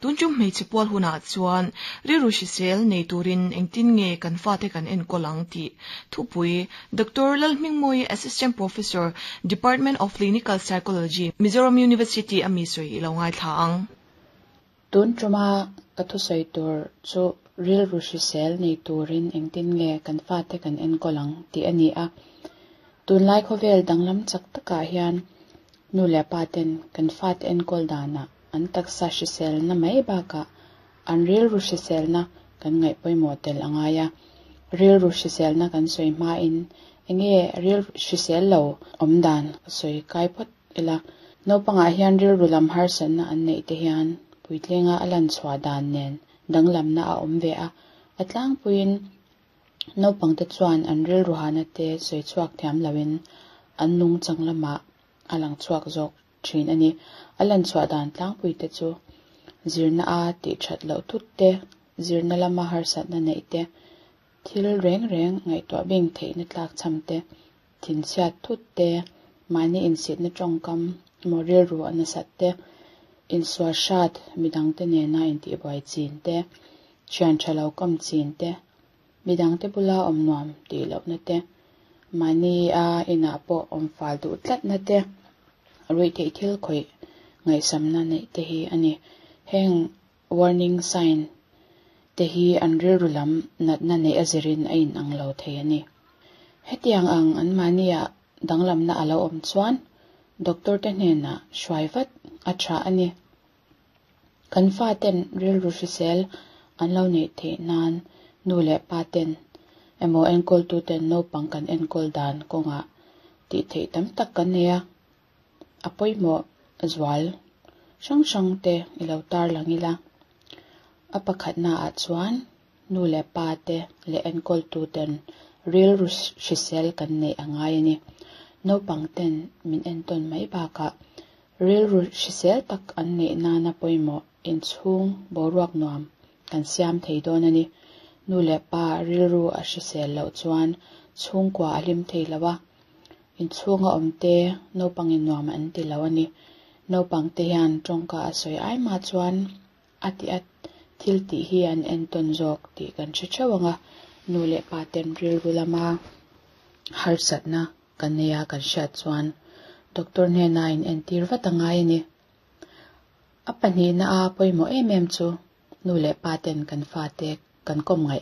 Tun tum hmeichhe pual hunah chuan rilru hrisel nei turin engtin nge kan fate kan enkawl ang tih thupui Doctor Lalhmingmawii Assistant Professor, Department of Clinical Psychology, Mizoram University a mi sawi i lo ngaithla ang. Tun tuma ka thusawi tur chu rilru hrisel nei turin engtin nge kan fate kan enkawl ang tih a ni a. Tunlai khawvel danglam chak takah hian nu leh pa ten kan fate enkawl danah an taksa hriselna mai bakah an rilru hriselna kan ngaih pawimawh tel a ngai a. Rilru hriselna kan sawi hmain enge rilru hrisel lo awm dan ka sawi kai phawt ila. Naupangah hian rilru lam harsatna an neih te hian puitlinga a lan chhuah dan nen danglamna a awm ve a. A tlangpuiin naupangte chuan an rilru hahna te sawi chhuak thiam loin an nungchang lamah a lang chhuak zawk thin a ni. A lan chhuah dan tlangpui te chu zirna a tih that loh thut te, zirna lama harsatna neih te, thil reng reng ngaihtuah bing theihna tlak cham te, thinchhiat thut te, mahni insitna tawngkam emaw rilru a nasat te, insual hrat midangte nena intihbuai chin te, thian tha lo kawm chin te, midangte bula awm nuam tih lohna te, mahni a inah pawh awm fal duh tlatna te, ruihtheih thil khawih ngaihsamna neih te hi a ni. Heng warning sign te hi an rilru lam natna neih a zirin a inang lo thei a ni. Hetiang ang an mahnia danglamna a lo awm chuan doctor te hnenah hruai vat a tha a ni. Kan faten rilru hrisel an lo neih theih nan nu leh pa ten emaw enkawltu ten naupang kan enkawl dan kawngah tih theih tam tak kan nei a. A pawimawh zual hrang hrang te i lo tarlang ila. A pakhatnaah chuan nu leh pa te leh enkawltu ten rilru hrisel kan neih a ngai a ni. Naupang ten min entawn mai bakah rilru hrisel tak an neih nana pawimawh inchhung boruak nuam kan siam thei dawn a ni. Nu leh pa rilru a hrisel loh chuan chhungkua a hlim thei lo a. Inchhunga awm te naupangin nuam an ti lo a ni. Naupang te hian tawngka a sawi ai mah chuan a ti a thil tih hi an entawn zawk tih kan hre theuh ang a. Nu leh pa ten rilru lama harsatna kan nei a kan hriat chuan doctor hnena in entir vat a ngai a ni. A pahnihna a pawimawh em em chu nu leh pa ten kan fate kan kawm ngaih.